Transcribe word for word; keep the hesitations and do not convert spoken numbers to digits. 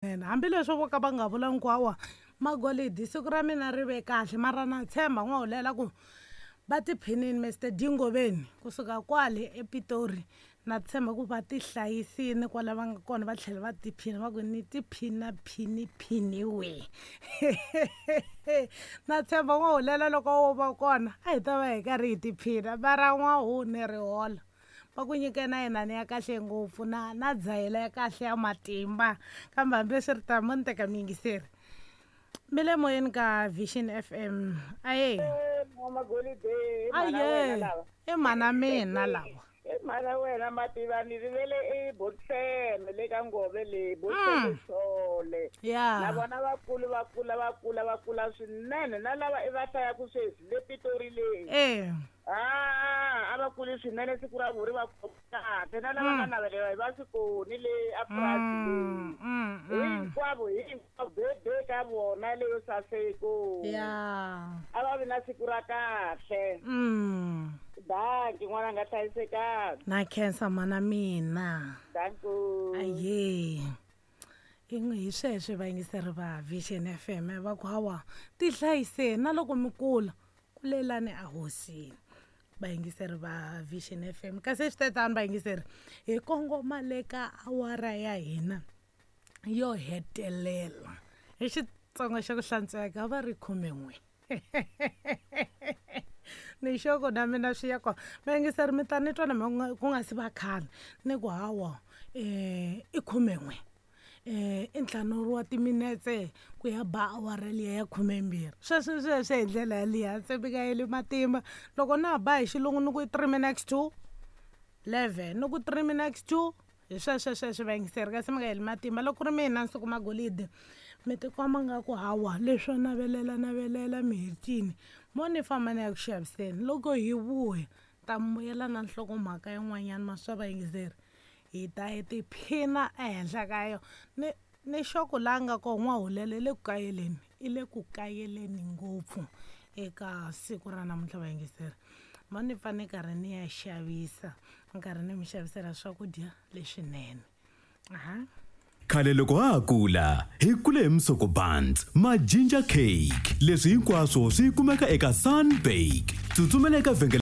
Swinene hambileswi vo ka va nga vula hinkwawa magolidi siku ra mina ri ve kahle, mara na tshemba n'wahulela ku va tiphinini Mister Dingoveni kusuka kwale ePitori. Na tshemba ku va tihlayisini kwala va nga kona, va tlhela va tiphina va ku ni tiphina phiniphiniwe. Na tshemba n'wahulela loko wo va kona a hi ta va hi karhi hi tiphina, mara n'wahuni ri hola va ku nyike na yinani ya kahle ngopfu na na dzahela ya kahle ya matimba. Kambe hambiswiritano mo ni teka muyingiseri mi le moyeni ka Vision F M. Aye aye, i mhana mina lava. I mhana wena mativa, ni rivele i Botseme le ka Ngove le Botseme Sole. Ya na vona va kula va kula va kula va kula swinene, na lava i va hlayaku sweswi le Pitori le. Eh ah a va kuli swinene, siku ra vuri va kahle, na lava nga navelela va swi koni le a purasi hinkwavo hinkwavo bebe ka vona leyo saseko. Ya a va vi na siku ra kahle. Mm. Danki n'wana nga hlayisekanga. Na khensa mana mina. Danku. Aye. Hi sweswo vayingiseri va Vision F M va ku hawa tihlayiseni na loko mi kula kulelani a hosini. Vayingiseri va Vision F M kasi swi tetani vayingiseri hi kongoma le ka awara ya hina yo hetelela hi Xitsonga xa ku hlantsweka va ri khumen'we. Ni xoko na mina swi ya kona vayingiseri mi ta ni twa na ku nga si va khale ni ku hawa um i khumen'we um i ntlhanu wa timinetse ku ya ba awara liya ya khumembirhi. Sweswo sweswo hi ndlela yaliya se mi nga heli matimba. Loko na ha ba hi xilungu ni ku i three minutes to eleven, ni ku three minutes to hi sweswo sweswo vayingiseri kasi mi nga heli matimba. Loko ku ri mina Nsuku Magolide mi tikomba nga ku hawa leswo navelela navelela mi hetini mo ni famba ni ya ku xaviseni. Loko hi vuya ta mi vuyela na nhlokomhaka yin'wanyana maswa vayingiseri hi ta hi tiphina ehenhla ka yona. Ni ni xoko laha nga kona n'wahulela i le ku kayeleni, i le ku kayeleni ngopfu eka siku ra namuntlha vayingiseri. Mo ni pfa ni karhi ni ya xavisa, ni karhi ni mi xavisela swakudya leswinene. Aha. Khale loko ha ha kula hi kule hi Msoko Buns ma ginger cake, leswi hinkwaswo swi kumeka eka Sunbake. Tsutsumela eka vhengele.